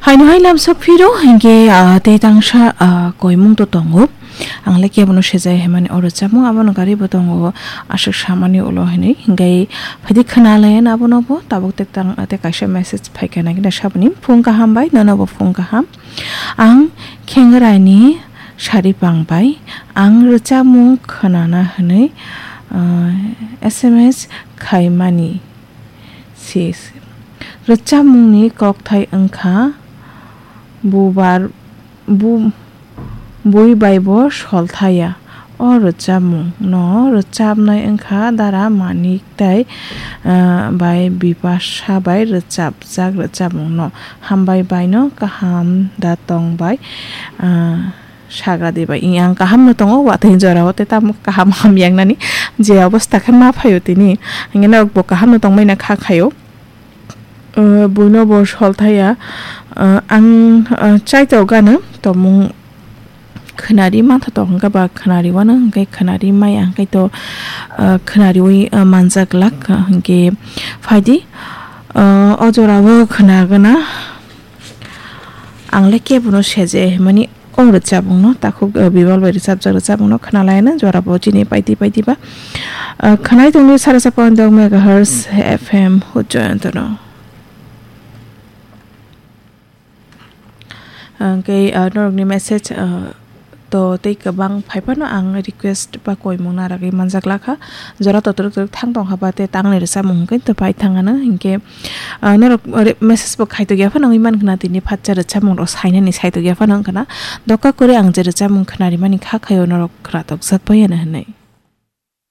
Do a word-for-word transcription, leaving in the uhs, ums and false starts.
Haino hai lam sok phiro, hinkhe, ah, tei tangsa, ah, koimung to tongo. Ang le kebono sejai himani oro chamung abono gari bo tongo, aswk samani ulo hinwi. Hinkhe phaidi khna lai abono bo, tabuk te tang, te kaisa message phaikha nai khe saboni phung kaham bai, nono bo phung kaham. Ang Khengraini Saripang bai ang rwchapmung khwnana hwnwi, ah, S M S khaimani. Sis. Rwchapmungni kokthai wngkha bubar, bu-, bui bai bo solthaya. O rwchapmung no rwchapnai wngkha Dara Manik tai, ah, bai Bipasha bai rwchapjak rwchapmung no. Hambai bai no kaham da tong bai, ah, sagra di bai. Ang kaham no tongo, watwi jora o tei tamo kaham hamya wngnani je obostha khe ma phaio tini. Hingke norok bo kaham no tongmani kha khaio. Uh, buino bo solthaya, uh, ang, uh, chaitok gana tomung khwnari mantha tok hingke ba khwnari wano hingke khwnari maya hingke to, uh, khwnariwi, uh, manjak lak, uh, hingke phaidi, uh, o jora o khwnagana ang le kebono seje mani o rwchapmung no takhuk, uh, Bimal bai rwchapjak rwchapmung no khwnalaina jora bo chini paidi paidi ba, uh, khwnai tongni sara sa point dok megahertz F M Joyonto no. Hingke, ah, norokni message, ah, to tei kwbang phaiphano ang request ba koimung narwgwi manjak lakha. Jora to twrwk twrwk thang tongkha ba tei tangni rwchapmung hwnkhe to pai thangano. Hingke, ah, norok re-, message bo khaitokya phano wngwi mankha na tini phatsa rwchapmung rok sainani saitokya phano wngkha na. Doka kwrwi ang je rwchapmung khwnarimani kha khaio norok khwnatok jak bai ano hwnwi.